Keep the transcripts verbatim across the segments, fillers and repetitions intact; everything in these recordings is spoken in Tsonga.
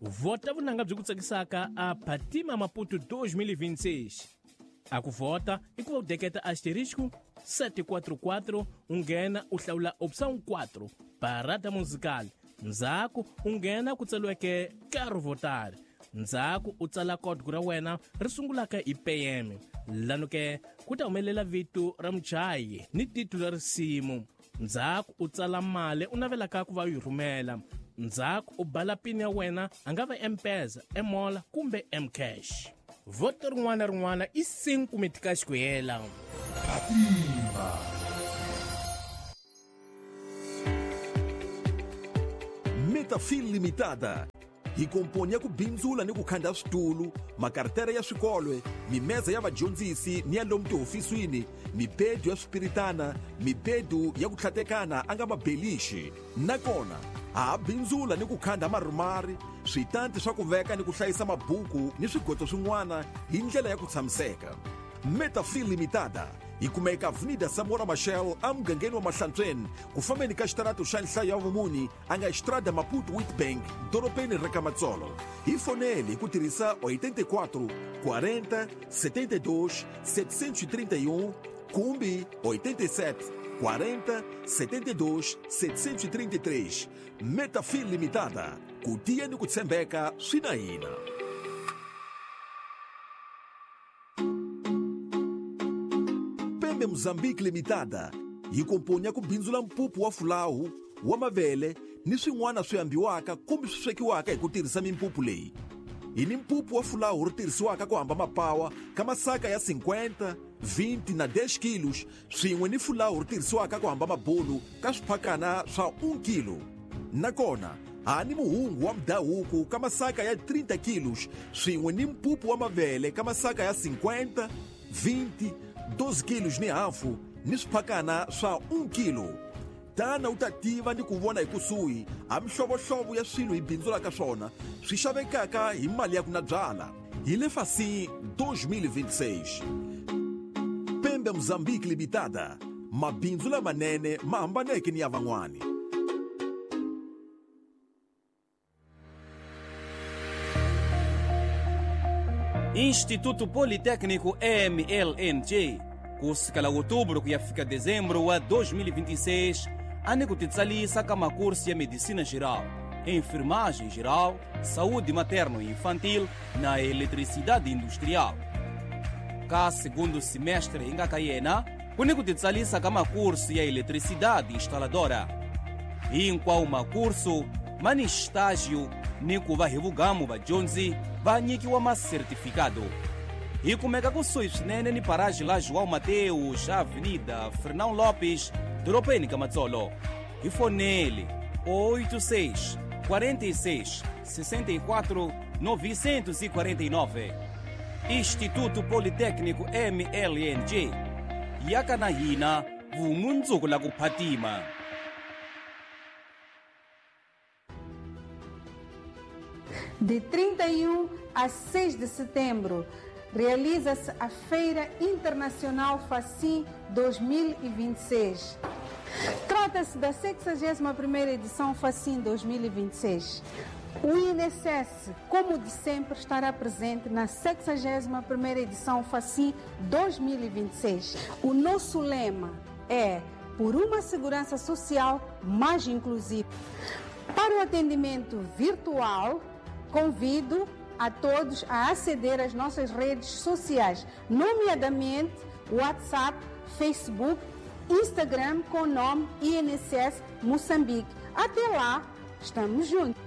Vhota vunanga byi ku tsakisaka a Phatima Maputo dois mil e vinte e seis. A ku vhota i ku va u deketa asterisco sete quatro quatro, u nghena u hlawula opção quatro, parada musical. Ndzhaku u nghena ku tsariweke Quero votar. Ndzhaku u tsala código ra wena ri sungulaka hi P M. Lano ke ku ta humelela vito ra muchayi ni titulu ra risimu. Ndzhaku u tsala mali u navelaka ku va u yi rhumela. Ndzhaku u bala pin ya wena, a nga va M-Pesa, M-Mola kumbe M-Cash. Voto rin'wana na rin'wana i cinco meticais ku hela. Metafil Limitada hi komponi ya ku bindzula ni ku khanda switulu, makartere ya swikolwe, mimeza ya vadyondzisi ni ya lomu tihofisini, mibedu ya swipiritana, mibedu ya ku tlhatekana a nga mabelixi. Nakona ha bindzula ni ku khanda marumari, switanti swa ku veka ni ku hlayisa mabuku ni swigotso swin'wana hi ndlela ya ku tshamiseka. Metafil Limitada hi kumeka Avenida Samora Machel emugangeni wa Mahlantsweni, ku fambeni ka xitarato xa nhlayo ya vumuni a nga Estrada Maputo Witbank, dorobeni ra ka Matsolo. Hi fonele hi ku tirhisa oitenta e quatro, quarenta, setenta e dois, setecentos e trinta e um kumbe oitenta e sete, quarenta, setenta e dois, setecentos e trinta e três. Metafil Limitada, ku tiya ni ku tshembeka swi na hina. Mozambique Limitada yi komponi ya ku bindzula mpupu wa fulawu, wa mavele ni swin'wana swi ambiwaka kumbe swi swekiwaka hi ku tirhisa mimpupu leyi. Hi ni mpupu wa fulawu ri tirhisiwaka ku hamba mapawa ka masaka ya cinquenta, vinte na dez kilos, swin'we ni fulawu ri tirhisiwaka ku hamba mabulu ka swiphakana swa um kilo. Nakona ha ni muhungu wa mudhahuku ka masaka ya trinta kilos, swin'we ni mpupu wa mavele ka masaka ya cinquenta, vinte, doze kilos ni hafu ni swiphakana swa um kilo. Tana u ta tiva ni ku vona hi kusuhi a mihlovohlovo ya swilo hi bindzulaka swona swi xavekaka hi mali ya ku na byala. Hi le Facim dois mil e vinte e seis. Pembe Mozambique Limitada, mabindzu lamanene ma hambaneke ni ya van'wani. Instituto Politécnico M L N G, kusukela outubro ku ya fika dezembro wa dois mil e vinte e seis, a ni ku titsalisa ka makurso ya medicina geral, enfermagem geral, saúde materno e infantil na eletricidade industrial. Ka segundo semestre hi nga ka yena, ku ni ku titsalisa ka makurso ya eletricidade instaladora. Hinkwawo makurso ma ni estágio ni ku va hi vugamu vadyondzi va nyikiwa masertifikado. Hi kumeka kusuhi swinene ni paraji la João Mateus, Avenida Fernão Lopes, dorobeni ka Matsolo. Hi fonele oito seis, quarenta e seis, sessenta e quatro, novecentos e quarenta e nove. Instituto Politécnico M L N G. Yaka na hina vumundzuku la ku phatima. De trinta e um a seis de setembro, realiza-se a Feira Internacional Facim dois mil e vinte e seis. Trata-se da sexagésima primeira edição Facim dois mil e vinte e seis. O I N S S, como de sempre, estará presente na sexagésima primeira edição Facim dois mil e vinte e seis. O nosso lema é por uma segurança social mais inclusiva. Para o atendimento virtual, convido a todos a aceder às nossas redes sociais, nomeadamente WhatsApp, Facebook, Instagram com o nome I N S S Moçambique. Até lá, estamos juntos.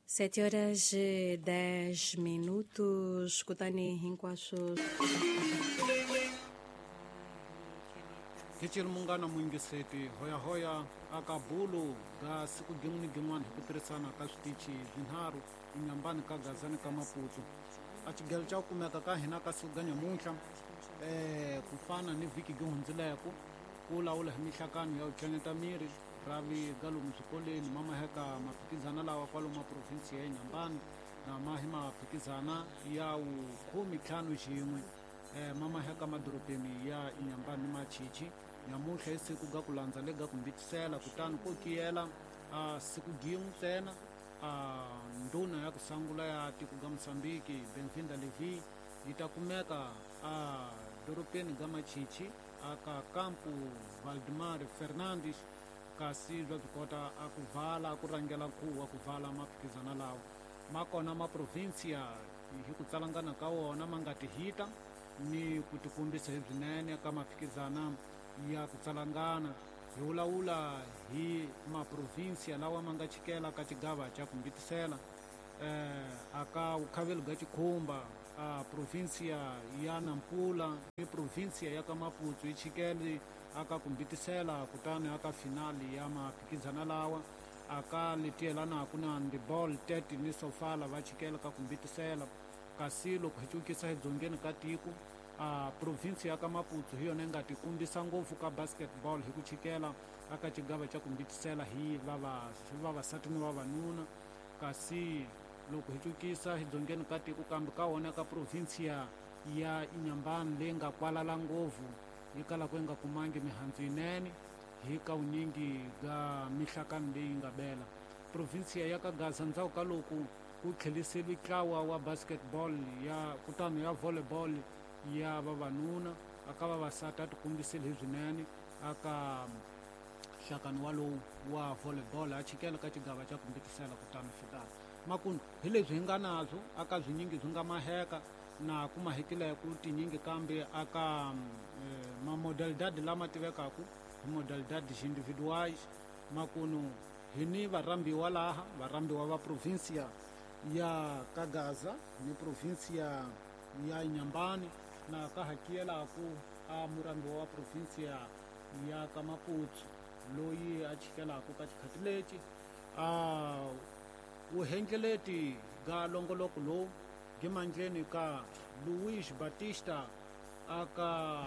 Sete horas e dez minutos, kutani hinkwaswo. Kichiri munghana muyingiseti hoyahoya aka bulu ga siku gin'we ni gin'wana hi ku tirhisana ka switichi swinharhu enyambani ka Gazani ka Maputo. A xigelo xa ku kumeka ka hina ka siku ga nyamuntlha eh ku fana ni vhiki gi hundzileko ku lawula hi mihlakano ya ku tlanyeta miri ravi ga lomu swikolweni ma maheka maphikizana lawa kwalomu province ya Inhambane na ma hi maphikizana ya wukhume ntlhanu xin'we eh, mamaheka madorobeni ya Inhambane Machichi nyamuntlha i siku ga ku landza lega ku mbitisela kutani ko kiyela a siku gin'we ntsena a ndhuna ya ku sangula ya tiko ga Mozambique Benvinda Levi yi ta kumeka a dorobeni ga Machichi aka kampu Valdemar Fernandes kasi bya byi kota a ku vala a ku rhangela nkhuvo wa ku vala maphikizana lawa ma kona ma provincia hi ku tsalangana ka wona ma nga tihita ni ku tikombisa hi byinene ka maphikizana ya ku tsalangana hi vulavula hi maprovinsia lawa ma nga chikela ka xigava xa ku mbitisela eh aka vukhavelo bya Chikhumba a provincia ya Nampula ni provincia ya ka Maputo yi chikele aka ku mbitisela kutani aka finali ya maphikizana lawa aka letielanaku na handball Tete ni Sofala va chikela ka ku mbitisela kasi loko hi cukisa edzongeni ka tiko a province ya ka Maputo hi yona yi nga tikombisa ngopfu ka basketball hi ku chikela aka xigava xa ku mbitisela hi vavasati ni vavanuna kasi loko hi cukisa edzongeni ka tiko kambe ka wona ka provincia ya Inhambane leyi nga kwalala ngopfu yi kalaka yi nga kumangi mihandzu yinene hi ka vunyingi ga mihlakano leyi nga bela provincia ya ka Gaza ndzhaku ka loko ku tlheliseliwe ntlawa wa basketball ya kutani ya volleyball ya vavanuna aka vavasati a tikombisile hi swinene aka nhlakano walowu wa volleyball a chikela ka xigava xa ku mbitisela kutani fikaka makunu hi leswi hi nga nabyo aka swinyingi swi nga maheka na ku mahekileko tinyingi kambe aka eh, mamodalidade lama tivekaku hi modalidades individuais makunu hi ni varhambiwa laha varhambiwa va provincia ya ka Gaza ni provincia ya Inhambane na ka hakiyelaku a murhambiwa wa provincia ya ka Maputo loyi a chikelaku ka xikhati lexi a vuhengeleti ga longoloko lowu gimandleni ka Luis Batista aka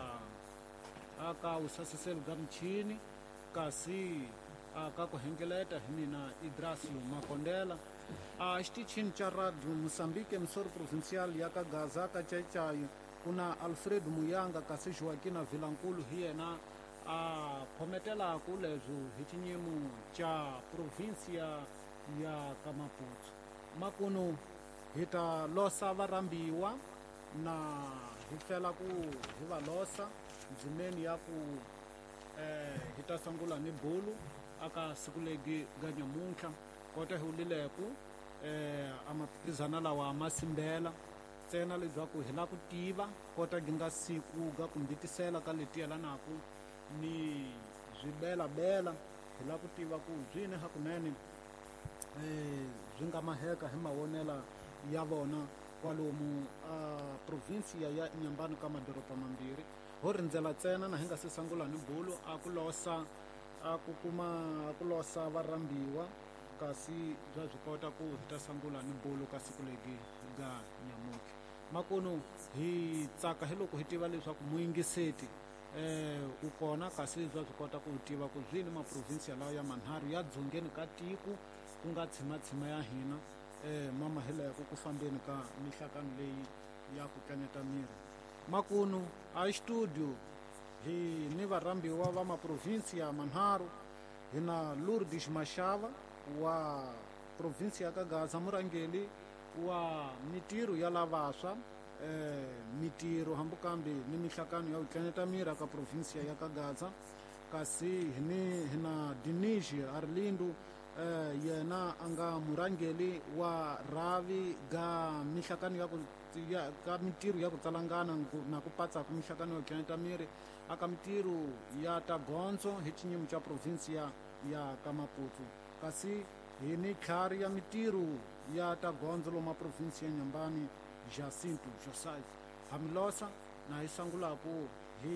aka usasiseli ga michini kasi aka ku hengeleta hi mina Idrasio Makondela a xitichini xa radio Moçambique Missoro Provincial ya ka Gaza ka Chaichai ku na Alfredo Muyanga kasi Joaquina Vilankulu hi yena a khometelaku leswo hi xinyimo xa provincia ya ka Maputo makunu hi ta losa varhambiwa na hi fela ku hi va losa ndzimeni ya ku eh hi ta sungula ni bulu aka siku legi ga nyamuntlha kota hi wulileku eh a maphikizana lawa ma simbela ntsena leswaku hi la ku tiva kota gi nga siku ga ku mbitisela ka leti yelanaku ni swibelabela hi la ku tiva ku byini hakunene eh byi nga maheka hi mavonela ya vona kwalomu a provincia ya Inhambane ka madoroba mambirhi ho rindzela ntsena na hi nga se sungula ni bulu a ku losa a ku kuma a ku losa varhambiwa kasi bya byi kota ku hi ta sungula ni bulu ka siku legi ga nyamuntlha makunu hi tsaka hi loko hi tiva leswaku muyingiseti eh u kona kasi bya byi kota ku tiva ku byini maprovinsia lawa ya manharhu ya dzongeni ka tiko ku nga tshimatshima ya hina eh mama hileko ku fambeni ka mihlakano leyi ya ku tlanyeta miri makunu a studio hi ni varhambiwa va maprovinsia manharhu hi na Lourdes Mashava wa provinsia ya ka Gaza murhangeli wa mitirho ya lavaswa eh mitirho hambukambe ni mihlakano ya ku tlanyeta miri ka provinsia ya ka Gaza kasi hi ni hi na Dinizhi Arlindo eh yena a nga murhangeli wa rhavi ga mihlakano ya ku ya ka mitirho ya ku tsalangana na ku patsa ku mihlakano ya ku tlanyeta miri aka mitirho ya ta gondzo hi xinyimo xa provinsia ya ka Maputo kasi hi ni tlhari ya mitirho ya ta gondzo loma provinsia ya Inhambane Jacinto Joseph Hamilosa na hi sangulaku hi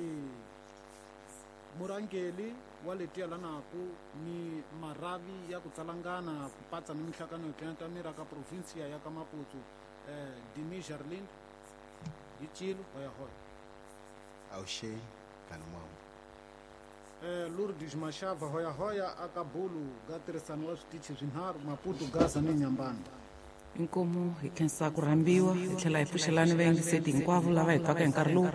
murhangeli wa leti yelanaku ni maravi ya ku tsalangana ku patsa ni mihlakano yo tlanyeta miri ka provinsia ya ka Maputo eh Dimi Jarlind hi Chilo hoya hoya Awushe kana mwamu eh Lourdes Mashava hoya hoya aka bulu ga tirhisano wa switichi swinharhu Maputo Gaza ni Inhambane. Inkomu hi khensa ku rhambiwa hi tlhela hi pfuxelani vayingiseti hinkwavo lava hi twaka hi nkarhi lowu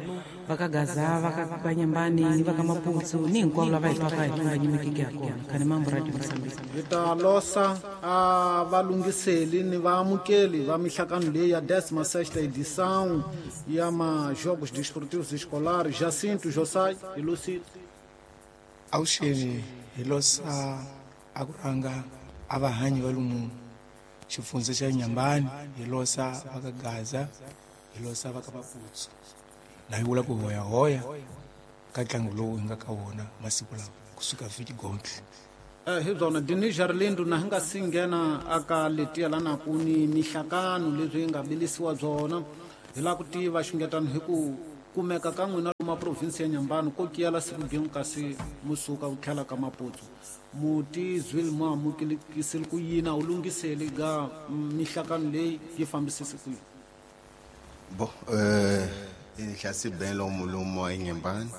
va ka Gaza, va ka Vanyambani ni va ka Maputsu ni hinkwavo lava hi twaka hi nga nyimekiki ha kona. Khani mambo Radio Mozambique. Hi ta losa a valunghiseli ni vaamukeli va mihlangano leyi ya décima sexta edição ya ma-Jogos Desportivos Escolares Jacinto Josai e Lucito. Avuxeni, hi losa a ku rhanga a vahanyi va lomu xifundza xa Nyambani, hi losa va ka Gaza, hi losa va ka Maputsu. Na hi vula ku hoyahoya ka ntlangu lowu hi nga ka wona masiku lawa kusuka vhiki gontle. Eh, hi byona Denis Jarlindo na hi nga si nghena aka letiya lanaku ni mihlangano leswi yi nga bilisiwa byona hi lava ku tiva xungetano hi ku kumeka ka n'wina lomu province ya Nyambani ko kiyela siku gin'we kasi musuka ku tlhela ka Maputsu. Muti zwile mo amukelekisile ku yini a wu lunghiseli ga mihlangano leyi yi fambisise ku yini? Bon, euh, hlasi ben lomu lomu eNyambani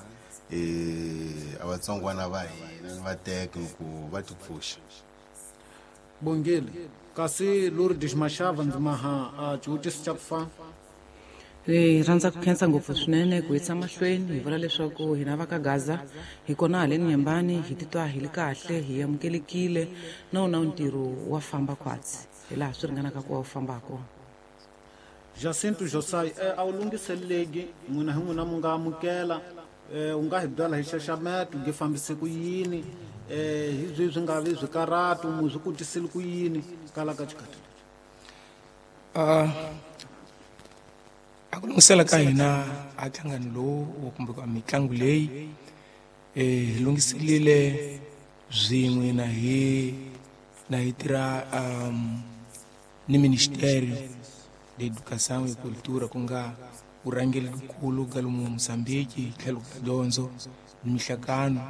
eh a vatsongwana va hina ni vateki ku va tipfuxa. Bongile, kasi Lourdes Mashava ndzi maha a xivutiso xa ku fana. Hi rhandza ku khensa ngopfu swinene ku yisa mahlweni hi vula leswaku hina va ka Gaza hi kona haleni Nyambani hi titwa hi li kahle, hi amukelekile na wona ntirho wa famba khwatsi hi laha swi ringanaka ku wa wu famba ha kona. Jacinto Josai, eh, a wu lunghiseleki n'wina hi n'wina mu nga amukela, eh, u nga hi byela hi xaxameto nge fambise ku yini, eh, hi byi swi nga vi swikarhatu mu swi kotisile ku yini kala ka xikhathi lexi? Ah, a ku lunghisela ka hina a nhlangano lowu kumbe ka mitlangu leyi eh hi lunghiselile swin'we na hi na hi tirha um ni Ministério de Educação e Cultura ku nga vurhangeri nkulu ka lomu Mozambique hi tlhelo ka dyondzo ni mihlangano.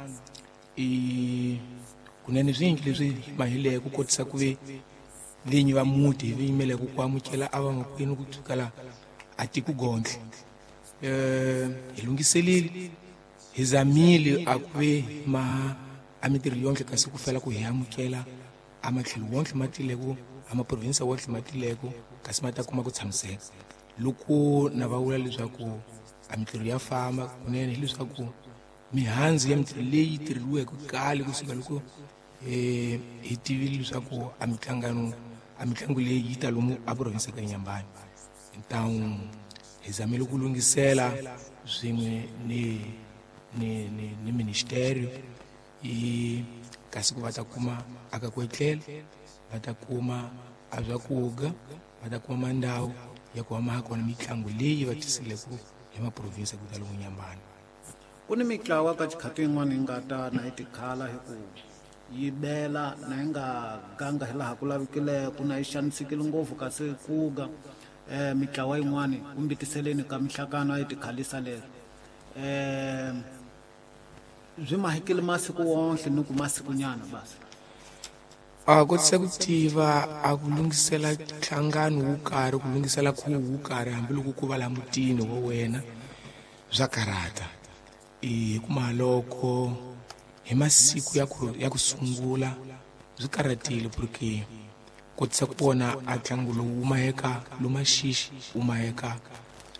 I kunene swingi leswi hi mahileke ku kotisa ku ve vinyi va muti hi yimeleke ku amukela a vamakwenu ku sukela a tiko gontle. Eh hi lunghiselile hi zamile a ku ve ma a mintirho yonke kasi ku fela ku hi amukela a matlhelo wonke ma tileko a maprovinsi wonke ma tileko kasi ma ta kuma ku tshamiseka. Loko na va vula leswaku a mintirho ya famba kunene hileswaku mihandzu ya mintirho leyi tirheriweke kale kusuka loko eh hi tivile leswaku a mihlangano a mitlangu leyi yi ta lomu a provinsi ka Nyambani. Então hi zamile ku lunghisela swin'we ni ni ni ni ministério i kasi ku va ta kuma aka ku etlela, va ta kuma a swakudya, va ta kuma mandhawu ya ku va kona mitlangu leyi va tisileke hi maprovinsi ku ta lomu Nyambani. Ku ni mitlawa ka xikhathi yin'wana yi nga ta na yi tikhala hi ku yi bela na yi nga ganga hi laha ku lavekileke na yi xanisekile ngopfu kasi kuga eh mitlawa yin'wani kumbe tiseleni ka mihlangano a yi tikhalisa lero. Eh byi mahikile masiku wonke ni ku masikunyana basi. A kotisa ku tiva a ku lunghisela nhlangano wo karhi, ku lunghisela khuvo wo karhi hambiloko ku va la mutini wa wena swa karhata. I hikuma loko hi masiku ya ku ya ku sungula swi karhatile porque kotisa ku vona a ntlangu lowu wu maheka lomu Maxixi wu maheka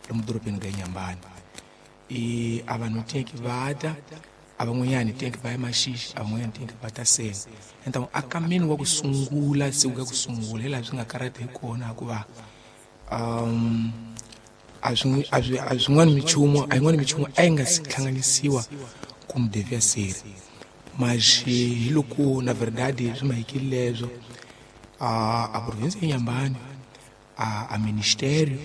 lomu dorobeni ka Nyambani. I a vanhu tenki va ta a van'wanyani tenki va ya Maxixi, a van'wanyani tenki va ta sena. Então a kameni wa ku sungula siku ka ku sungula hi laha swi nga karhata hi kona hikuva um a swi a swi a swin'wana minchumu a yin'wana minchumu a yi nga si hlanganisiwa kumbe devia ser. Mas hi loko na verdade swi mahikile leswo a a province ya Nyambani a a ministério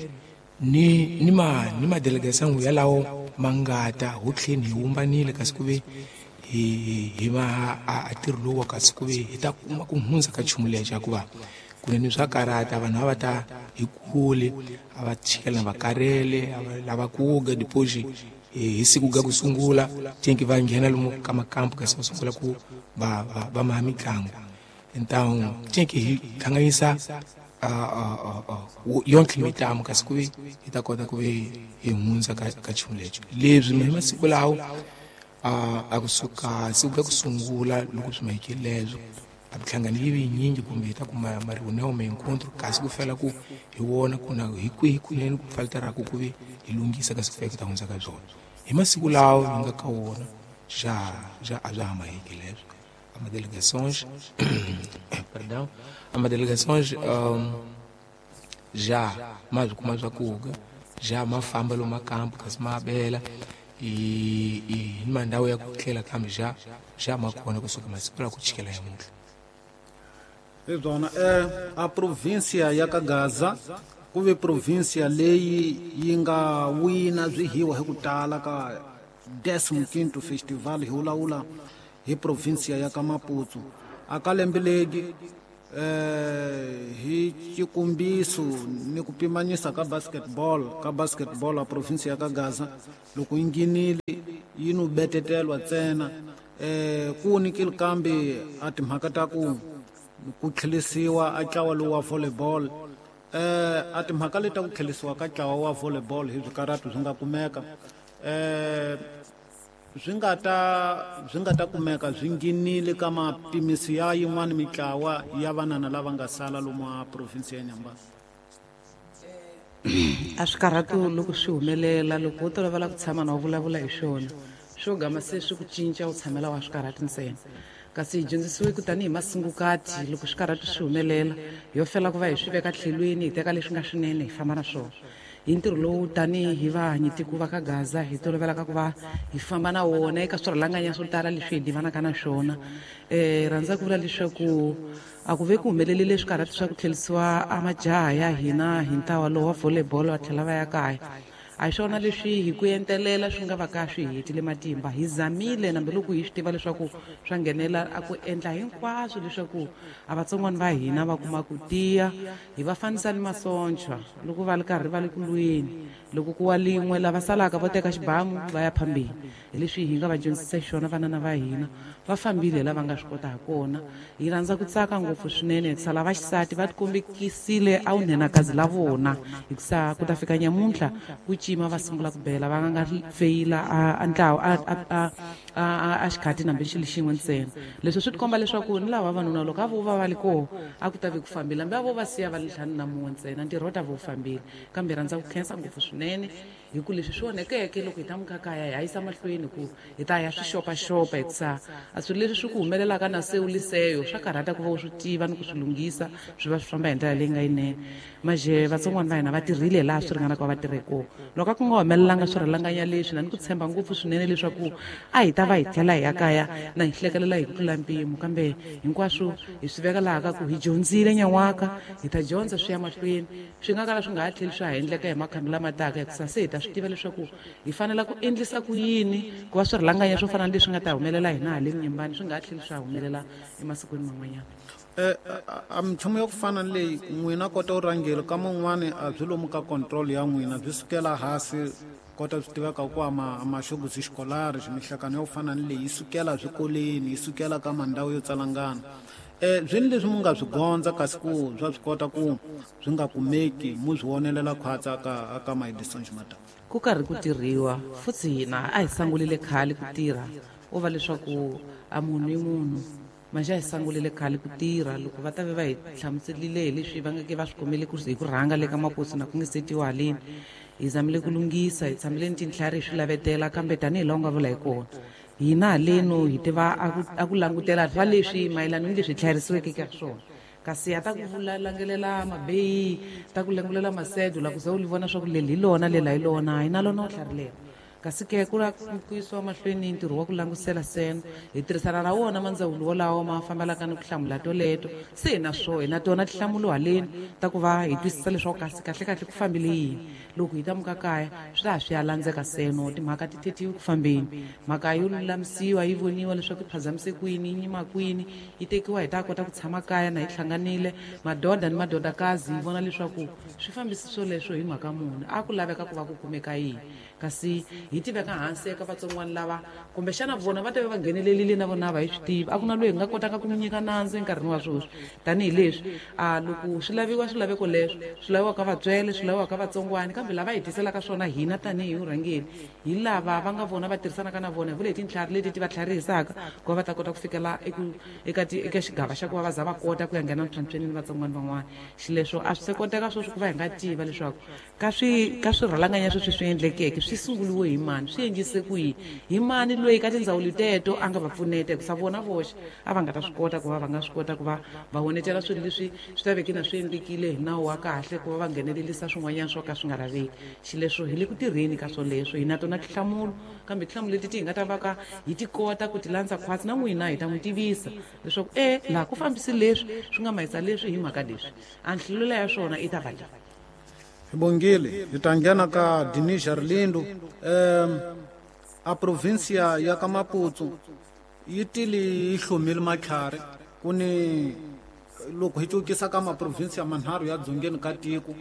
ni ni ma ni ma delegação ya lawo mangata ho tlheni hi wumbanile kasi ku ve hi hi va a ntirho lowu kasi ku ve hi ta kuma ku hundza ka nchumu lexi hikuva kunene swa karhata vanhu a va ta hi kule a va chikela va karhele a va lava ku ga depois hi siku ga ku sungula tenki va nghena lomu ka makampu kasi va sungula ku va va va maha mitlangu. Então tenki hi hlanganisa yonke mitlangu kasi ku ve hi ta kota ku ve hi hundza ka ka nchumu lexi. Leswi hi masiku lawo a a kusuka siku ga ku sungula loko swi mahikile leswo A minhlangano yi vi yinyingi kumbe hi ta kuma ma-reunião ma-encontro kasi ku fela ku hi vona ku na hi kwihi kunene ku faltaraku ku ve hi lunghisa kasi ku fika ku ta hundza ka byona. Hi masiku lawa hi nga ka wona já já a bya ha maheki leswo. A ma-delegações perdão, a ma-delegações um, já ma swi kuma swakudya, já ma famba lomu makambu kasi ma bela i i ni mandhawu ya ku tlela kambe já já ma kona kusuka masiku lawa ku chikela namuntlha. Hi byona eh a província ya ka Gaza ku ve província leyi yi nga wina swihiwa hi ku tala ka décimo quinto festival hi vulavula hi província ya ka Maputo. A ka lembe leri eh hi xikombiso ni ku pimanyisa ka basketball ka basketball a província ya ka Gaza loko yi nghenile yi no betetelwa ntsena eh ku nikile kambe a timhaka ta ku ku tlhelisiwa a ntlawa lowu wa volleyball eh a timhaka leti ta ku tlhelisiwa ka ntlawa wa volleyball hi swikaratu swi nga kumeka eh swi nga ta swi nga ta kumeka swi nghenile ka mapimiso ya yin'wana mitlawa ya vanana lava nga sala lomu a province ya Nyambani. A swikarhatu loko swi humelela loko wo tolovela ku tshama na u vulavula hi swona swo gama se swi ku cinca u tshamela wa swikarhatu ntsena. Kasi hi dyondzisiwe ku tanihi masungukati loko swikarhatu swi humelela yo fela ku va hi swi veka tlhelweni hi teka leswi nga swinene hi famba na swona. Hi ntirho lowu tanihi vahanyitiko va ka Gaza hi tolovelaka ku va hi famba na wona eka swirhalanganya swo tala leswi hi divanaka na swona. Um rhandza ku vula leswaku a ku ve ku humelelile swikarhatu swa ku tlherisiwa a majaha ya hina hi ntlawa lowu wa volleyball va tlhela va ya kaya. A hi swona leswi hi ku entelela swi nga va ka swi hetile matimba. Hi zamile nambiloko hi swi tiva leswaku swa nghenela a ku endla hinkwaswo leswaku a vatsongwana va hina va kuma ku tiya, hi va fanisa ni masocha loko va ri karhi va le ku lweni. Loko ku wa lin'we lava salaka vo teka xibamu va ya phambeni. Hi leswi hi nga va dyondzisa xiswona vanana va hina va fambile lava nga swi kota ha kona. Hi rhandza ku tsaka ngopfu swinene hikusa lava xisati va tikombekisile a vunhenakazi la vona hikusa ku ta fika nyamuntlha ku cima va sungula ku bela va nga feyila a ntlawa a a a a xikhati nambe xilo xin'we ntsena. Leswi swi tikomba leswaku ni lava vavanuna loko a vo va va li koho a ku ta ve ku fambile hambi a vo va siya va li ntlhanu na mun'we ntsena ntirho wu ta va wu fambile. Kambe rhandza ku khensa ngopfu swinene hi ku leswi swi onhekeke loko hi ta muka kaya hi ya yisa mahlweni ku hi ta ya swi xopaxopa hikusa a swilo leswi swi ku humelelaka na se u liseyo swa karhata ku va u swi tiva ni ku swi lunghisa swi va swi famba hi ndlela leyi nga yinene. Maje vatsongwana va hina va tirhile laha swi ringanaka va tirhe kona. Loko a ku nga humelelanga swirhalanganya leswi na ni ku tshemba ngopfu swinene leswaku a hi ta va hi tlhela hi ya kaya na hi hlekelela hi ku tlula mpimo kambe hinkwaswo hi swi veka laha ka ku hi dyondzile nyan'waka hi ta dyondza swi ya mahlweni swi nga kala swi nga ha tlheli swa ha endleka hi makhambi lama taka hikusa se hi ta swi tiva leswaku hi fanela ku endlisa ku yini ku va swirhalanganya swo fana na leswi nga ta humelela hina haleni Nyembani swi nga ha tlheli swa humelela emasikwini man'wanyana. Eh a minchumu ya ku fana ni leyi n'wina kota u rhangela ka man'wani a byi lomu ka control ya n'wina byi sukela hansi kota swi tiveka ku ama maxoguzi xikolari mihlakano ya ku fana ni leyi yi sukela swikolweni yi sukela ka mandhawu yo tsalangana. Eh byini leswi mu nga swi gondza kasi ku swa swi kota ku swi nga kumeki mu swi vonelela khwatsa ka ka maedison ximata. Ku karhi ku tirhiwa futhi hina a hi sangulile khale ku tirha u va leswaku a munhu i munhu manje a hi sangulile khale ku tirha loko va ta ve va hi hlamuselile hi leswi va nga ke va swi kumele ku hi ku rhanga le ka makosi na ku nge setiwa haleni hi zamile ku lunghisa hi tshamile ni tintlhari hi swi lavetela kambe tanihi laha u nga vula hi kona hina haleno hi tiva a ku langutela swa leswi mayelana ni leswi hi tlharisiweke ka swona. Kasi a ta ku vula langelela mabeyi ta ku langulela masedo la ku ze u li vona swa ku leli hi lona lela hi lona hi na lona u tlharilela. Kasi ke ku la ku yisiwa mahlweni ntirho wa ku langusela seno hi tirhisana na wona mandzawulo wolawo ma fambelaka ni ku hlamula toleto se hi na swo hi na tona tinhlamulo haleni ta ku va hi twisisa leswaku kasi kahlekahle ku fambile yini. Loko hi ta muka kaya swi ta ha swi ya landzeka seno timhaka ti tetiwi ku fambeni mhaka yo lulamisiwa yi voniwa leswaku yi phazamise kwini yi nyima kwini yi tekiwa hi ta kota ku tshama kaya na hi hlanganile madoda ni madodakazi hi vona leswaku swi fambisi swoleswo hi mhaka muni a ku laveka ku va ku kumeka yini. Kasi hi tiveka hansi eka vatsongwana lava kumbexana vona va ta va va nghenelerile na vona va hi swi tivi. A ku na loyi hi nga kotaka ku n'wi nyika nandzu enkarhini wa sweswi, tanihileswi a loko swi laviwa swilaveko leswi swi laviwaka vatswele, swi laviwaka vatsongwana, kambe lava hi tiselaka swona hina tanihi vurhangeri hi lava va nga vona va tirhisanaka na vona hi vule hi tintlhari leti ti va tlharihisaka ku va va ta kota ku fikela eka eka xigava xa ku va va za va kota ku ya nghena ntlhantlhweni ni vatsongwana van'wana. Xileswo a swi se koteka sweswi ku va hi nga tiva leswaku ka swi ka swirhalanganya sweswi swi endlekeke swi sunguriwe hi mani, swi endlise ku yini, hi mani loyi ka tindzawulo teto a nga va pfuneta, hikusa vona voxe a va nga ta swi kota ku va va nga swi kota ku va va honetela swilo leswi swi ta veke na swi endlekile hi nawu wa kahle ku va va nghenelelisa swin'wanyana swo ka swi nga laveki. Xileswo hi le ku tirheni ka swoleswo, hi na tona tinhlamulo, kambe tinhlamulo leti ti hi nga ta va ka hi ti kota ku ti landza khwatsi na n'wina hi ta n'wi tivisa leswaku e laha ku fambisi leswi swi nga mahisa leswi hi mhaka leswi, a nhlamulo ya swona i ta va leyi. Hi bongile hi ta nghena ka Dinis Arlindo. um a provincia ya ka Maputo yi tile yi hlomile matlhari ku ni loko hi cukisa ka maprovinsia manharhu ya dzongeni ka tiko,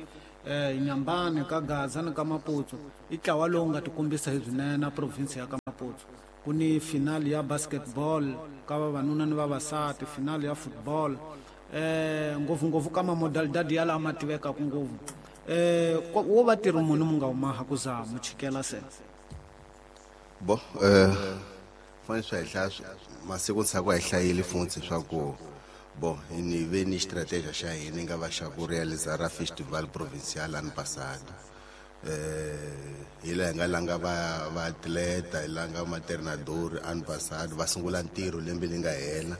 eh Inhambane ka Gaza ni ka Maputo, i ntlawa lowu nga tikombisa hi swinene provinsia ya ka Maputo. Ku ni finale ya basketball ka vavanuna ni vavasati, finale ya football, eh ngopfungopfu ka mamodalidadi ya lama tivekaka ngopfu. Eh wo va tirhi munhu mu nga humaha ku za mu chikela se bo eh fanele swi hla masiku ntshaku a hi hlayile futhi swa ku bo ni ve ni strategia xa hina nga va xa ku realizar ra festival provincial ano passado. Eh hi laha hi nga langa va va atleta, hi langa maternador ano passado va sungula ntirho lembe leri nga hela.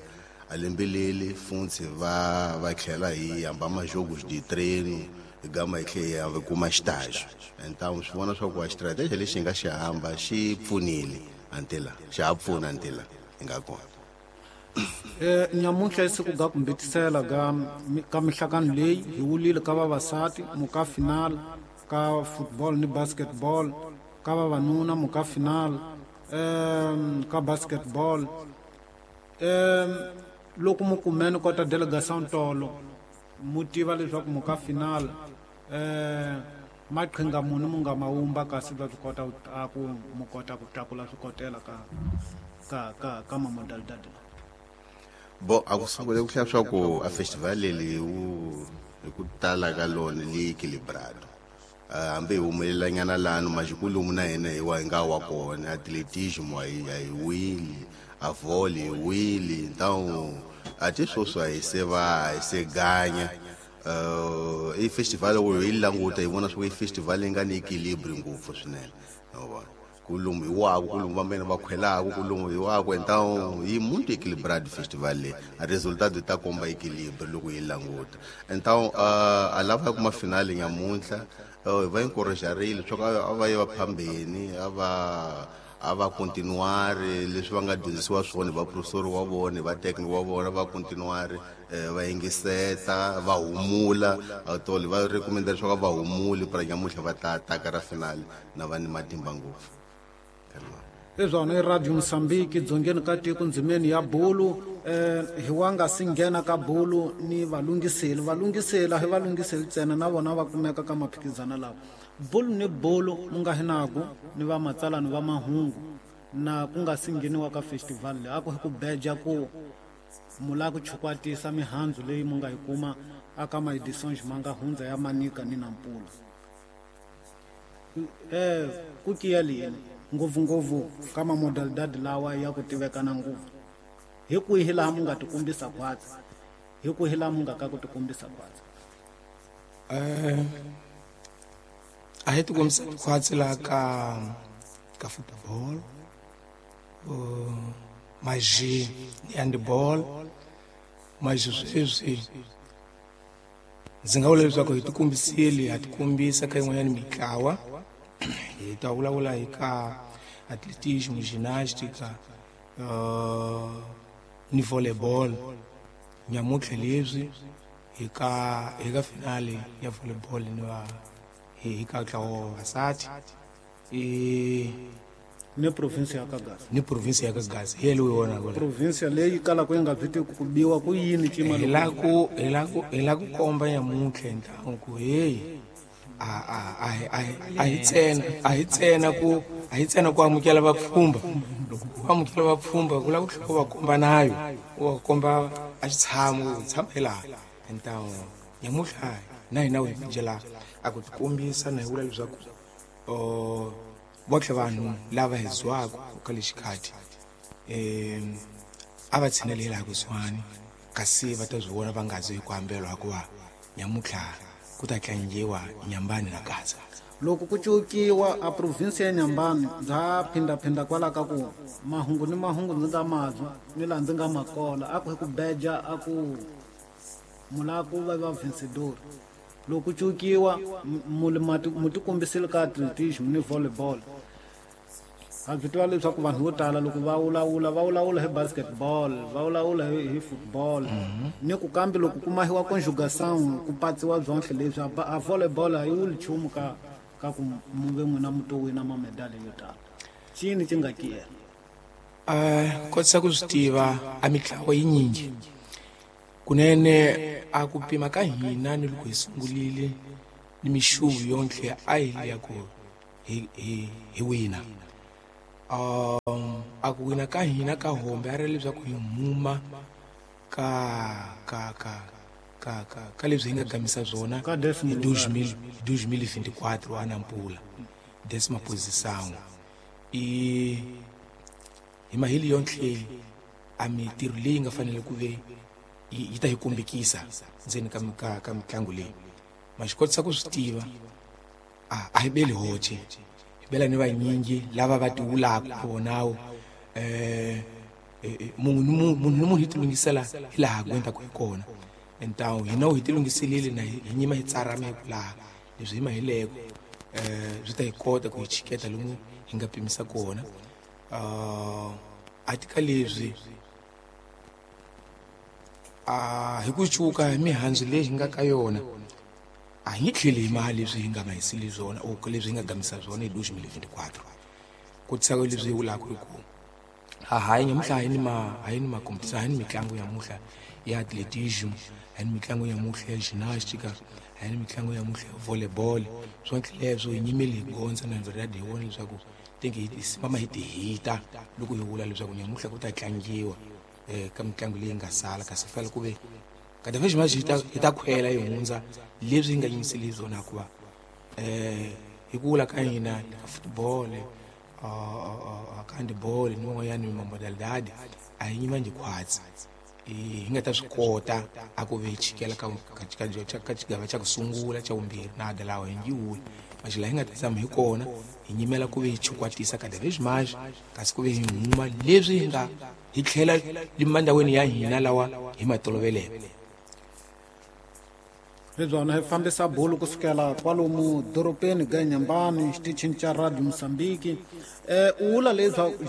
A lembe leli futhi va va tlhela hi hamba majogos de treino hi gama hi tlhela hi kuma estágio. Então swi vona swa ku a strategia lexi hi nga xi hamba xi pfunile antela, xa ha pfuna antela hi nga kona. Eh nyamuntlha i siku ga ku mbitisela ga ka mihlangano leyi hi wulile ka vavasati muka final ka football ni basketball, ka vavanuna muka final um ka basketball. Um loko mu kumene kota delegation tolo mu tiva leswaku muka final eh maqhinga munhu mu nga mawumba kasi va swi kota a ku mu kota ku tlakula swikotela ka ka ka ka mamodalidadi. Bo a ku sungule ku hlaya swa ku a festival leyi wu hi ku tala ka lona li equilibrado. Hambi hi humelelanyana lano majikulumu na hina hi wa hi nga wa kona atletismo a hi a hi wili, a volley hi wili. Então a ti sweswi a hi se va hi se ganya. Uh, i festival wu hi languta hi vona swa ku i festival yi nga ni equilibre ngopfu swinene. Wa vona ku lomu hi waku, ku lomu va mena va khwelaku, ku lomu hi waku. Então yi muito equilibrado festival leyi, a resultado ta komba equilibre loko hi languta. Então uh, a lava kuma finale nyamuntlha uh, va encouragerile swa ku a va yi va phambeni, a va a va continuare leswi va nga dyondzisiwa swona hi vaprofesori wa vona, hi vatekniki wa vona, va continuare va yingiseta, va humula. Tolo va recommenda leswaku va humuli para nyamuntlha va ta taka ra finale na va ni matimba ngopfu. I swona i Radio Mozambique dzongeni ka tiko ndzimeni ya bulu. Eh hi wa nga si nghena ka bulu ni valungiseli valungisela hi valungiseli ntsena na vona va kumeka ka maphikizana lawa. Bulu ni bulu mu nga hinaku ni va matsalani va mahungu na ku nga si ngheniwa ka festival leyi a ku hi ku beja ku mu lava ku chukwatisa mihandzu leyi mu nga yi kuma aka maeditions ma nga hundza ya Manica ni Nampula. Eh ku kiya lini ngopfungopfu ka mamodalidadi lawa ya ku tivekana ngopfu, hi kwihi laha mu nga tikombisa khwatsi, hi kwihi laha mu nga ka ku tikombisa khwatsi? Eh a hi tikombisa khwatsi laha ka ka football, uh, maji ni handball. Maji sweswi ndzi nga vula leswaku hi tikombisile, ha tikombisa ka yin'wanyana mitlawa. Hi ta vulavula hi ka atletismo, ginástica, uh, ni volleyball. Nyamuntlha leswi hi ka hi ka finale ya volleyball ni va hi ka ntlawa wa vavasati i ni province ya ka Gaza, ni province ya ka Gaza hi leyi wona ku province leyi kalaka yi nga byi tiku ku biwa ku yini cima hi la ku hi la ku hi la ku komba nyamuntlha ntlangu ku hey a a a a hi ntsena a hi ntsena ku a hi ntsena ku amukela vapfhumba. Loko u amukela vapfhumba ku lava ku tlhela u va komba nayo, u va komba a xitshamo u tshama hi laha. Então nyamuhla na hina hi byela a ku tikombisa na hi vula leswaku votlhe vanhu lava hi zwaka ka lexikhathi um a va tshineli laha kusuhani, kasi va ta swi vona va nga zi hi ku hambelwa hikuva nyamutlha ku ta tlangiwa Nyambani na Gaza. Loko ku cukiwa a province ya Nyambani bya phindaphinda kwala ka ku mahungu ni mahungu ndzi nga mazwa ni laha ndzi nga makola a ku hi ku beja a ku mulaku va va vencedor. Loko ku cukiwa mu tikombisile ka atletism ni volleyball. Ha byi tiva leswaku vanhu vo tala loko va vulavula va vulavula hi basketball, va vulavula hi, hi football. Ni ku kambe loko ku mahiwa conjugação ku patsiwa byonhle leswi a volleyball a yi wuli nchumu ka ka ku mu ve n'wina mu to wina mamedali yo tala. Cini ci nga kiyela? Uh, kotisa ku swi tiva a mitlawa yinyingi kunene a ku pima ka hina ni loko hi sungulile ni mixuvu yonhle a hi liya ku hi hi hi wina. Um a ku wina ka hina ka hombe a ri leswaku hi huma ka ka ka ka ka ka leswi hi nga gamisa swona hi dois mil e vinte e quatro a Nampula, décima posição. I hi mahili yonhle a mitirho leyi nga fanele ku ve yi ta hi kombekisa ndzeni ka ka ka mitlangu leyi. Ma xi kotisa ku swi tiva a a hi beli hoce, hi bela ni vanyingi lava va tivulaka vonawo eh munhu ni munhu ni munhu hi tilungisela hi laha ku endlaka hi kona. Então hina hi tilunghiselile na hi nyima hi tsarama hi ku laha leswi hi mahileko eh swi ta hi kota ku hi chiketa lomu hi nga pimisa kona. A tika leswi a hi ku cuka hi mihandzu leyi hi nga ka yona a hi nge tlheli hi mali leswi hi nga mahisile swona or leswi hi nga gamisa swona hi dois mil e vinte e quatro. Ku tisa leswi hi vulaka hi ku a hayi nyamuhla hi ni ma hi ni ma competition, hi ni mitlangu ya muhla ya atletism, hi ni mitlangu ya muhla ya gymnastica, hi ni mitlangu ya muhla ya volleyball. Swonke leswo hi nyimele hi gondza na verdade hi vona leswaku tingi hi mama hi tihita loko hi vula leswaku nyamuhla ku ta tlangiwa eh ka mitlangu leyi nga sala, kasi fanele ku ve kada vez mais hi ta hi ta khwela hi hundza leswi hi nga yimiseli swona hikuva eh hi ku vula ka hina ka football ka handball ni van'wanyana mamodalidade a hi nyima njhe khwatsi hi nga ta swi kota a ku ve hi chikela ka ka ka xigava xa ku sungula xa vumbirhi na dalawa hi ngiwuli maxi laha hi nga ta tshama hi kona hi nyimela ku ve hi chukwatisa kada vez mais kasi ku ve hi huma leswi hi nga hi tlhela limandhaweni ya hina lawa hi ma toloveleke. Hi byona hi fambisa bolo kusukela kwalomu dorobeni ga Nyambani xitichini xa Radio Mozambique. Eh u vula leswaku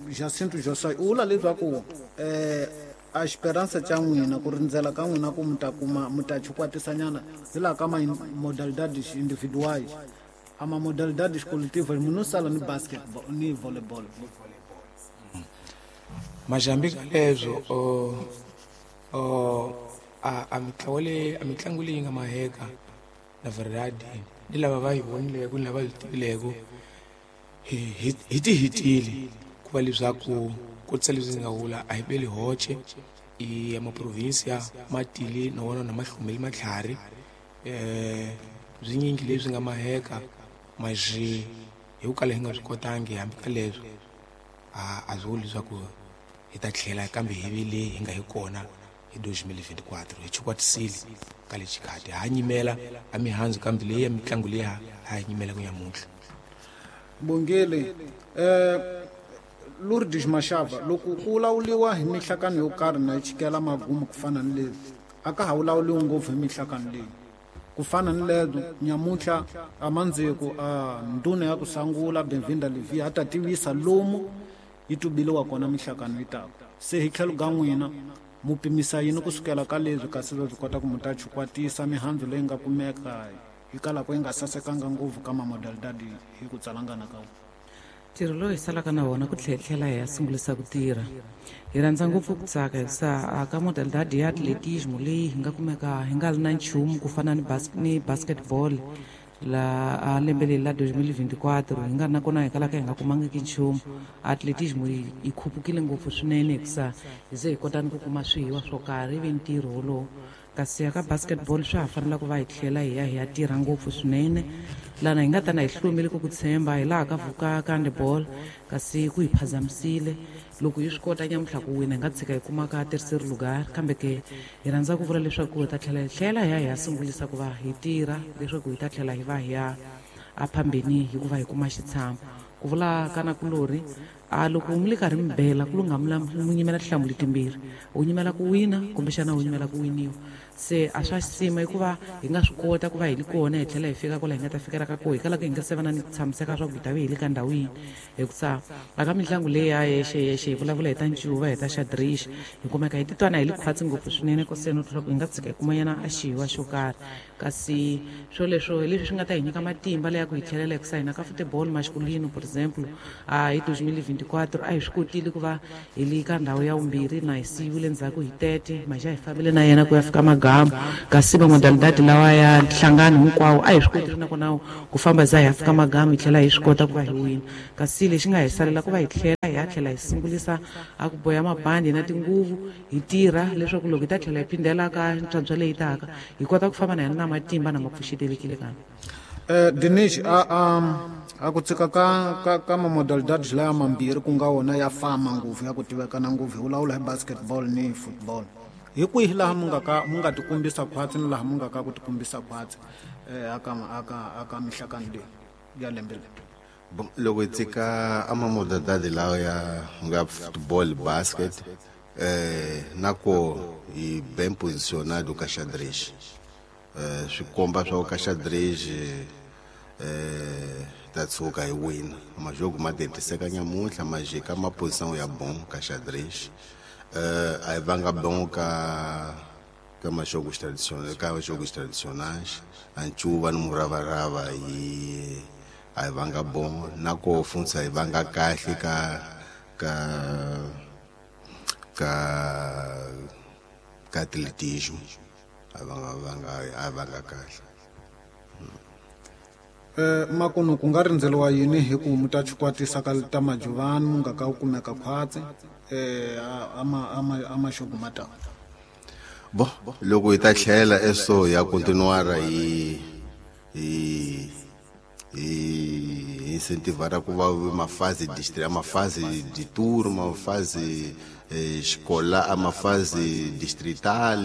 Jacinto Josai u vula leswaku eh a esperança xa n'wina ku rindzela ka n'wina ku mi ta kuma mi ta chukwatisanyana hi laha ka ma-modalidades individuais a ma-modalidades coletivas munhu sala ni basketball ni volleyball. Majambi ka leswo o a a mitlangu leyi a mitlangu leyi nga maheka na verdade ni lava va yi vonileko ni lava yi tivileko hi hi ti hitile ku va leswaku ku tisa leswi ndzi nga vula a hi beli hoce i ya maprovinsia ma tile na wona na mahlumeli matlhari eh byinyingi leswi nga maheka maxi hi ku kala hi nga swi kotangi hambi ka leswo a a swi vuli leswaku hi ta tlhela kambe hi vi leyi hi nga hi kona hi dois mil e vinte e quatro. Hi chukwatisile ka le xikhati ha nyimela a mihandzu kambe leyi ya mitlangu leyi ha ha nyimela ku nyamuntlha. Bongele eh Lourdes Mashava loko ku vulavuriwa hi mihlakano yo karhi na yi chikela magumu ku fana ni leswi a ka ha vulavuriwi ngopfu hi mihlakano leyi ku fana ni lezo nyamuntlha a mandziko a ndhuna ya ku sangula Benvinda Levi a ta tivisa lomu yi tubiliwa kona mihlakano yi taka se hi tlhelo ka n'wina mu pimisa yini kusukela ka leswi kasi va swi kota ku mu ta chukwatisa mihandzu leyi nga kumeka hikwalaho yi nga sasekanga ngopfu ka mamodalidadi hi ku tsalangana ka wona. Ntirho lowu hi salaka na wona ku tlhela hi ya sungulisa ku tirha hi rhandza ngopfu ku tsaka hikusa ka modalidade ya atletismo leyi hi nga kumeka hi nga ri na nchumu ku fana ni bas ni basketball La a lembe leri la twenty twenty-four hi nga ri na kona hi kalaka hi nga kumangiki nchumu. Atletismo yi yi khupukile ngopfu swinene hikusa hi ze hi kota ni ku kuma swihiwa swo karhi ivi ntirho wolowo. Kasi ya ka basketball swa ha fanela ku va hi tlhela hi ya hi ya tirha ngopfu swinene lana hi nga ta na hi hlomile ku ku tshemba hi laha ka vuka ka handball, kasi ku hi phazamisile. Loko hi swi kota nyamuntlha ku wina hi nga tshika hi kuma ka terceiro lugar, kambe ke hi rhandza ku vula leswaku hi ta tlhela hi tlhela hi ya hi ya sungulisa ku va hi tirha leswaku hi ta tlhela hi va hi ya a phambeni hikuva hi kuma xitshamo. Ku vula ka nakulorhi a loko mi le karhi mi bela ku lunga mi nyimela tinhlamulo timbirhi, u nyimela ku wina kumbexana u nyimela ku winiwa. Se a swa xisima hikuva hi nga swi kota ku va hi li kona hi tlhela hi fika kwala hi nga ta fikela ka koho, hi kalaka hi nga se va na ni ku tshamiseka swa ku hi ta ve hi le ka ndhawu yini. Hikusa a ka mitlangu leyi ya yexe yexe hi vulavula hi ta ncuva, hi ta xadrix, hi kumeka hi titwa na hi li khwatsi ngopfu swinene koseni ku hi nga tshika hi kumanyana a xihiwa xo karhi. Kasi swoleswo hi leswi swi nga ta hi nyika matimba leya ku hi tlhelela, hikusa hina ka football masculino por exemple a hi twenty twenty-four a hi swi kotile ku va hi li ka ndhawu ya vumbirhi na hi siyiwile ndzhaku hi tete maxa hi fambile na yena ku ya fika magamu. Kasi va modalidade lawa ya nhlangano hinkwawo a hi swi kotile nakona ku famba za hi ya fika magamu hi tlhela hi swi kota ku va hi wina. Kasi lexi nga hi salela ku va hi tlhela hi ya tlhela hi sungulisa a ku boya mabandi na tinguvu hi tirha leswaku loko hi ta tlhela hi phindela ka ntswantswa leyi taka hi kota ku famba na yena na matimba na ma pfuxetelekile kambe. Eh Dinesh, a a a ku tshika ka ka ka mamodalidades laya mambirhi ku nga wona ya fama ngopfu ya ku tivekana ngopfu hi vulavula hi basketball ni football, hi kwihi laha mu nga ka mu nga tikumbisa khwatsi ni laha mu nga ka ku tikumbisa khwatsi eh aka aka aka mihlakano leyi ya lembe leri? Bon, loko hi tshika a mamodalidade lawa ya nga football, basket eh na ko hi ben posicionado ka xadrez, eh swi komba swa ka xadrez eh ta tshuka hi wina majogo ma tentiseka nyamuntlha ma jika ma posição ya bom ka xadrez. Eh a hi vanga bom ka ka majogos tradicionais, ka jogos tradicionais a ncuva ni muravarava hi a hi vanga bom na ko funsa hi vanga kahle ka ka ka ka atletismo a vanga vanga a vanga kahle. Eh makuno ku nga rindzeliwa yini hi ku mu ta chikwatisa ka ta majuvani mu nga ka ku kumeka khwatsi eh ama ama ama xogo mata? Bo loko hi ta tlhela eso ya continuar hi hi hi incentivar ku va mafase district, mafase de tour, mafase escolar, a mafase distrital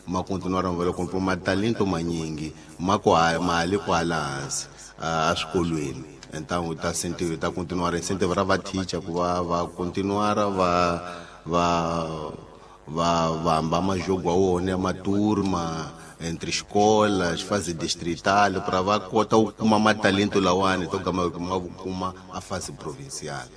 ma continuar va ku ma talento manyingi ma ku mali kwala hansi a swikolweni. Então ta sentivo ta continuar incentivar va teacher ku va va continuar va va va va majogo a wona ma turma entre escolas, fase distrital para va kota ku kuma matalento lawani to gama ma kuma a fase provincial.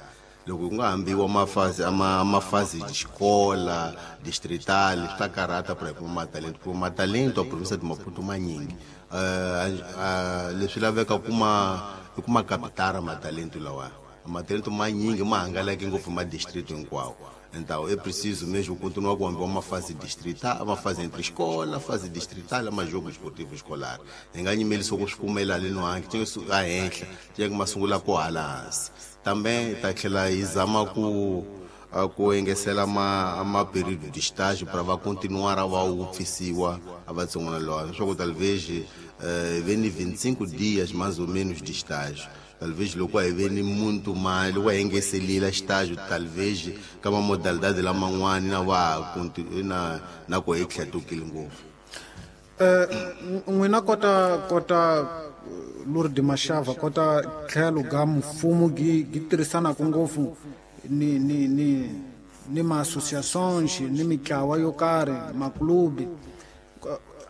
Loko ku nga hambiwa mafase ama mafase de escola distrital swi ta karhata para kuma matalento, kuma matalento a província de Maputo manyingi eh leswi laveka kuma i kuma capitara matalento lawa matalento manyingi ma hangalake ngopfu ma district hinkwawo. Então é preciso mesmo continuar com uma fase distrital, uma fase entre escola, fase distrital, uma jogo esportivo escolar. Enganye mele sokushukumela ali no anki, tinha a enhla, tinha uma sungula ko hansi. Também tá tlhela hi zama ku ku engesela ma ma período de estágio para va continuar a va upfisiwa a vatsongwana lawa. Leswaku talvez eh veni vinte e cinco dias mais ou menos de estágio. Talvez loko a hi veni muntu mali loko a engeselile estágio talvez ka ma modalidade laman'wani na va na na ku hi tlhetukile ngopfu. Eh n'wina kota kota Lourdes Mashava kota tlhelo ga mfumo gi gi tirhisanaka ngopfu ni ni ni ni ma associations ni mitlawa yo karhi maklubi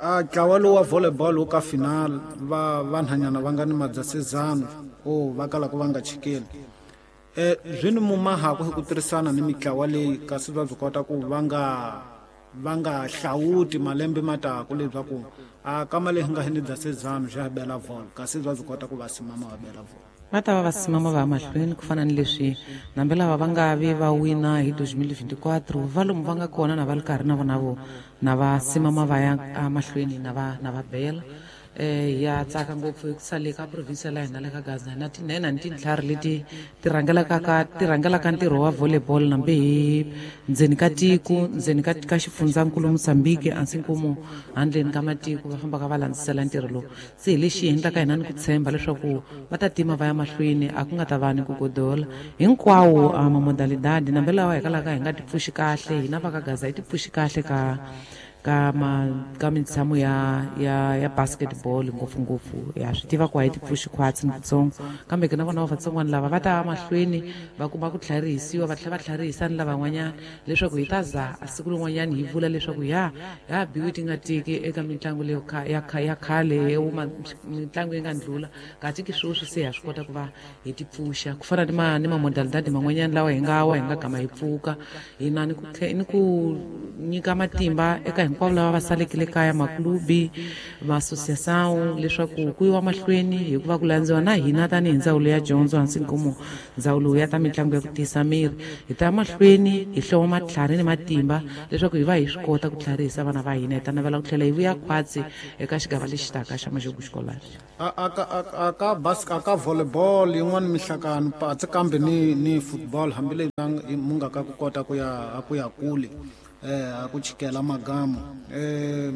a ntlawa lowu wa volleyball wu ka final va vanhanyana va nga ni madzasezano o va kalaka va nga chikeli eh swi ni mumahaku hi ku tirhisana ni mitlawa leyi kasi va byi kota ku va nga va nga hlawuti malembe mataku leswaku a kama leyi nga ni dzasezano xa bela vol kasi va byi kota ku va simama va bela vol. Va ta va va simama va ya mahlweni ku fana ni leswi nambe lava va nga vi va wina hi twenty twenty-four va lomu va nga kona na va ri karhi na vona vo na va simama va ya emahlweni na va na va bela. eh ya tsaka ngopfu ku sale ka province la hina le ka Gaza na tinhena ni tintlhari leti ti rhangelaka ka ti rhangelaka ntirho wa volleyball nambe hi ndzeni ka tiko ndzeni ka ka xifundzankulu Mozambique ansinkumu handleni ka matiko va fambaka va landzisela ntirho lowu se hi lexi endlaka hina ni ku tshemba leswaku va ta tima va ya mahlweni a ku nga ta va ni ku godola hinkwawo a mamodalidadi nambe lawa hi kalaka hi nga ti pfuxi kahle hina va ka Gaza hi ti pfuxi kahle ka ka ma ka mitshamo ya ya ya basketball ngopfu ngopfu ya swi tiva ku a hi ti pfuxi khwatsi ni kutsongo kambe ke na vona vatsongwana lava va ta mahlweni va kuma ku tlharihisiwa va tlhela va tlharihisa ni lavan'wanyana leswaku hi ta za a siku rin'wanyana hi vula leswaku ya ya biwi ti nga tiki eka mitlangu leyo ya ya khale mitlangu yi nga ndlula kasi ki sweswi se ha swi kota ku va hi ti pfuxa ku fana ni ma ni mamodalidadi man'wanyana lawa hi nga wa hi nga gama hi pfuka hina ni ku ni ku nyika matimba eka hinkwavo lava va salekile kaya maklubi maassociação leswaku ku yiwa mahlweni hikuva ku landziwa na hina tanihi ndzawulo ya dyondzo hansi nkomo ndzawulo ya ta mitlangu ya ku tiyisa miri hi ta mahlweni hi hloma matlhari ni matimba leswaku hi va hi swi kota ku tlharihisa vana va hina hi ta navela ku tlhela hi vuya khwatsi eka xigava lexi taka xa Maxugu Xikolari a ka a ka basket ka volleyball yin'wana mihlakano patsi kambe ni ni football hambileswi mu nga ka ku kota ku ya ku ya kule eh a ku chikela magamu eh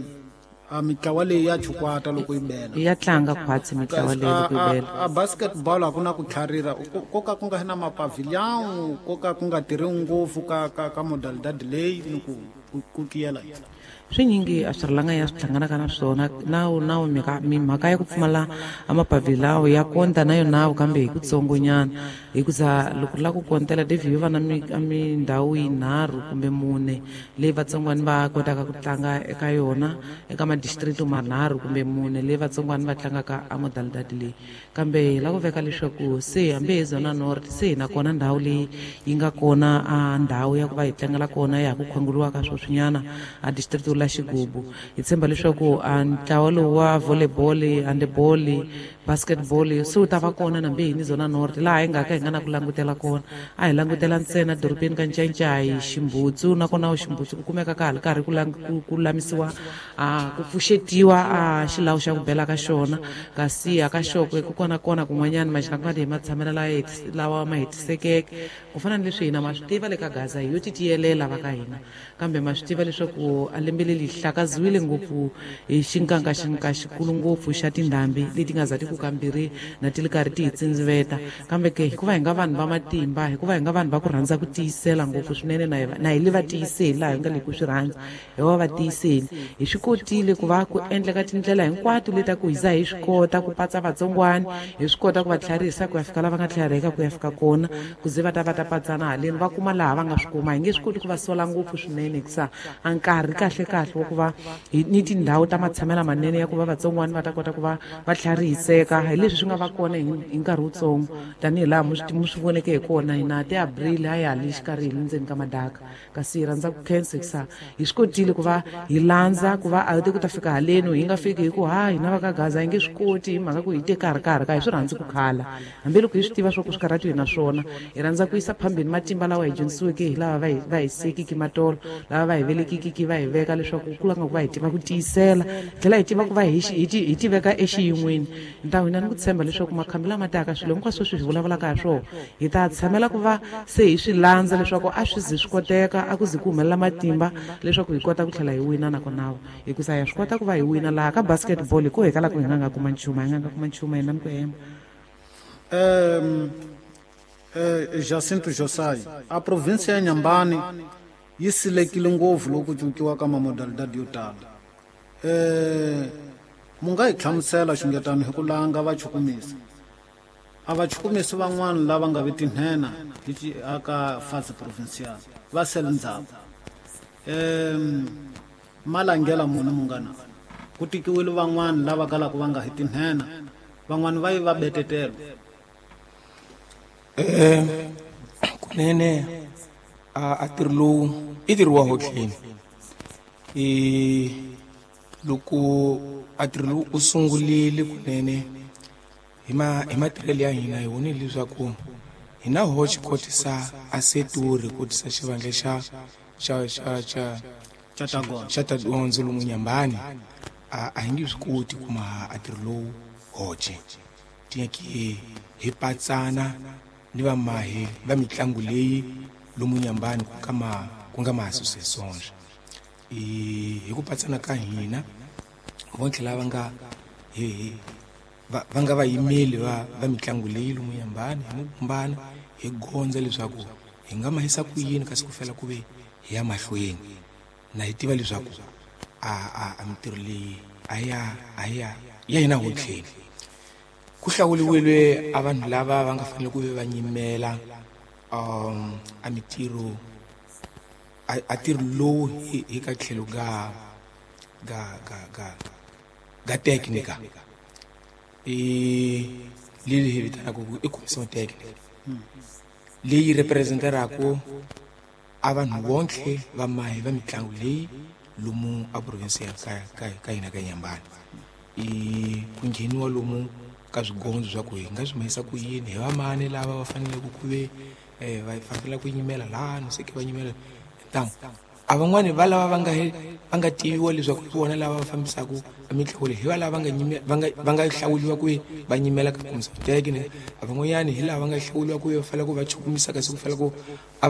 a mitlawa leyi ya chukwata loko yi bela ya tlanga khwatsi mitlawa leyi loko yi bela a basketball a ku na ku tlharira ko ka ku nga na mapavilhão ko ka ku nga tirhi ngopfu ka ka ka modalidad leyi ni ku ku tiyela swinyingi a swi rilanga ya swi hlanganaka na swona nawu nawu mhaka ya ku pfumala a mapavilhão ya konta na yona kambe hi kutsongonyana hikuza loko ri lava ku kontela David yo va na mindhawu yinharhu kumbe mune leyi vatsongwana va kotaka ku tlanga eka yona eka madistrito manharhu kumbe mune leyi vatsongwana va tlangaka a modalidad leyi kambe hi lava ku veka leswaku se hambi hi Zona North se hi na kona ndhawu leyi yi nga kona a ndhawu ya ku va hi tlangela kona ya ha ku khongeriwaka sweswinyana a distrito la Xigubu hi tshemba leswaku a ntlawa lowu wa volleyball handball basketball se wu ta va kona nambe hi ni Zona North laha hi nga ka hi nga na ku langutela kona a hi langutela ntsena dorobeni ka Ncancai Ximbutsu nakona Ximbutsu ku kumeka ka ha ri karhi ku ku lulamisiwa a ku pfuxetiwa a xilawu xa ku bela ka xona kasi a ka Xokwe ku kona kona kun'wanyana maxinakadi hi matshamelo lawa ma hetisekeke ku fana ni leswi hina ma swi tiva le ka Gaza hi yo ti tiyelela va ka hina kambe ma swi tiva leswaku a lembe leri hlakaziwile ngopfu hi xinkanka xinka xikulu ngopfu xa tindhambi leti nga za ti ku kambirhi na ti ri karhi ti hi tsindziveta kambe ke hikuva hi nga vanhu va matimba hikuva hi nga vanhu va ku rhandza ku tiyisela ngopfu swinene na na hi le va tiyiseli laha hi nga le ku swi rhandza hi va va tiyiseli hi swi kotile ku va ku endleka tindlela hinkwato leti ku hi za hi swi kota ku patsa vatsongwana hi swi kota ku va tlharihisa ku ya fika lava nga tlhariheka ku ya fika kona ku ze va ta va ta patsana haleni va kuma laha va nga swi kuma hi nge swi koti ku va sola ngopfu swinene hikusa a nkarhi kahle kahle wa ku va ni tindhawu ta matshamelo manene ya ku va vatsongwana va ta kota ku va va tlharihiseka hi leswi swi nga va kona hi nkarhi wutsongo tanihi laha mu swi voneke hi kona hina ti April a ya le xikarhi hi le ndzeni ka madaka kasi hi rhandza ku khensa hikusa hi swi kotile ku va hi landza ku va a te ku ta fika haleni hi nga fiki hi ku ha hina va ka Gaza hi nge swi koti hi mhaka ku hi te karhi karhi ka hi swi rhandzi ku khala hambiloko hi swi tiva swa ku swi karhati hi na swona hi rhandza ku yisa phambeni matimba lawa hi dyondzisiweke hi lava va hi va hi sekiki matolo lava va hi velekikiki va hi veka leswaku ku langa ku va hi tiva ku tiyisela tlhela hi tiva ku va hi hi ti veka exiyin'weni ntawu hina ni ku tshemba leswaku makhambi lama taka swilo hinkwaswo swi hi vulavulaka hi swona hi ta tshamela ku va se hi swi landza leswaku a swi zi swi koteka a ku zi ku humelela matimba leswaku hi kota ku tlhela hi wina nakona hikusa ya swi kota ku va hi wina laha ka basketball hi ku hi kala ku hi nga nga kuma nchumu hi nga nga kuma nchumu hina ni ku hemba um eh Jacinto Josai a província ya Nyambani yi silekile ngopfu loko ku cinciwa ka mamodalidad yo tala eh mu nga hi hlamusela xingetano hi ku langa va chukumisa a va chukumisi van'wana lava nga vi tinhena hi aka fase provincial va sele ndzhaku um malangela muni munghana ku tikiwile van'wana lava kalaka va nga hi tinhena van'wana va yi va betetelo eh kunene a ntirho lowu i ntirho wa hotleni i loko a ntirho lowu u sungurile kunene hi ma hi matirhelo ya hina hi vonile leswaku hi na hoxe kotisa a setori kotisa xivandla xa xa xa xa xa ta dyondzo lomu Nyambani a a hi nge swi koti ku maha a ntirho lowu hoxe tinyaki hi patsana ni vamahi va mitlangu leyi lomu Nyambani ku nga ma ku nga ma associations i hi ku patsana ka hina vontlhe lava nga hi hi va va nga vayimeli va va mitlangu leyi lomu Nyambani hi mukumbana hi gondza leswaku hi nga mahisa ku yini kasi ku fela ku ve hi ya mahlweni na hi tiva leswaku a a a mintirho leyi a ya a ya ya hina hotlheni ku hlawuriwile a vanhu lava va nga fanele ku ve va nyimela um a mintirho a a ntirho lowu hi hi ka tlhelo ga ga ga ga ga technica i leyi hi vitanaka ku i commission technique leyi representeraku a vanhu vontlhe va mahi va mitlangu leyi lomu a province ya ka ka ka hina ka Nyambani i ku ngheniwa lomu ka swigondzo swa ku hi nga swi mahisa ku yini hi vamani lava va faneleke ku ve eh, va fanele ku nyimela laha no se ke va nyimela ntangu a van'wani va lava va nga va nga tiviwa leswaku hi vona lava va fambisaka mitlangu leyi hi va lava va nga nyime va nga va nga hlawuriwa ku va nyimela ka commission technique a van'wanyani hi lava va nga hlawuriwa ku va fanele ku va chukumisa kasi ku fanele ku a va